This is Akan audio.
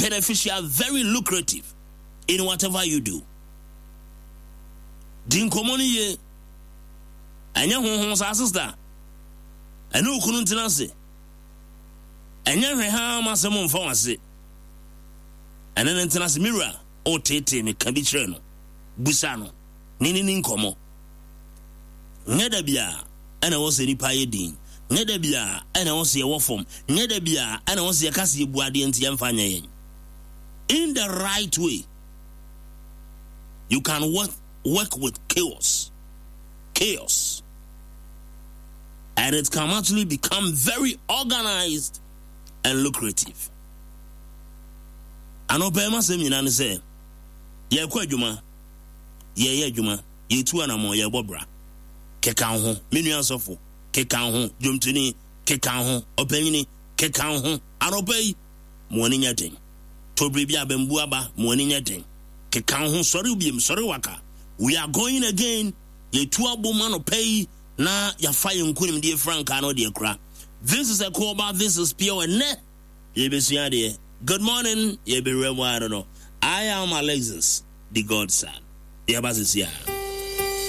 beneficial, very lucrative in whatever you do. Di nkɔmmɔ no yie. Ɛnyɛ honhom saa sister. Ɛne okunu ntena ase. Ɛnyɛ hwɛ haa ma asɛm mfa w'ase. Ɛne no ntena ase. Me wura, ɔreteetee me, ka bi kyerɛ no. Busa no. Ne ne ni nkɔmmɔ. Nyɛ da biara ɛna ɛwɔ sɛ nipa yɛ din. Nyɛ da biara ɛna ɛwɔ sɛ yɛwɔ fam. Nyɛ da biara ɛna ɛwɔ sɛ yɛka sɛ yɛbu adeɛ nti yɛmfa nyɛ yɛn. In the right way, you can work, work with chaos. Chaos. And it can actually become very organized and lucrative. Anɔpa yi m'asɛm nyinaa ne sɛ yɛrekɔ adwuma, yɛreyɛ adwuma, yɛretu anammɔn, yɛrebɔ bra. Keka wo ho, me nua sɔfo, keka wo ho, dwomtoni, keka wo ho, ɔpanyini, keka wo ho. Anɔpa yi, ma w'ani nyɛ den. Tɔ biribi abambu aba, ma w'ani nyɛ den. Keka wo ho, sɔre biem, sɔre waka. We are going again. Yɛtu abom anɔpa yi na yɛafa yɛn nkonimdie frankaa no de akura. This is Ɛkoɔba, this is Pure. Ɛnnɛ, yɛbɛsua adeɛ. Good morning, yɛbɛwura mu ara no. I am Alexis, the Godson. Yɛba sisi a.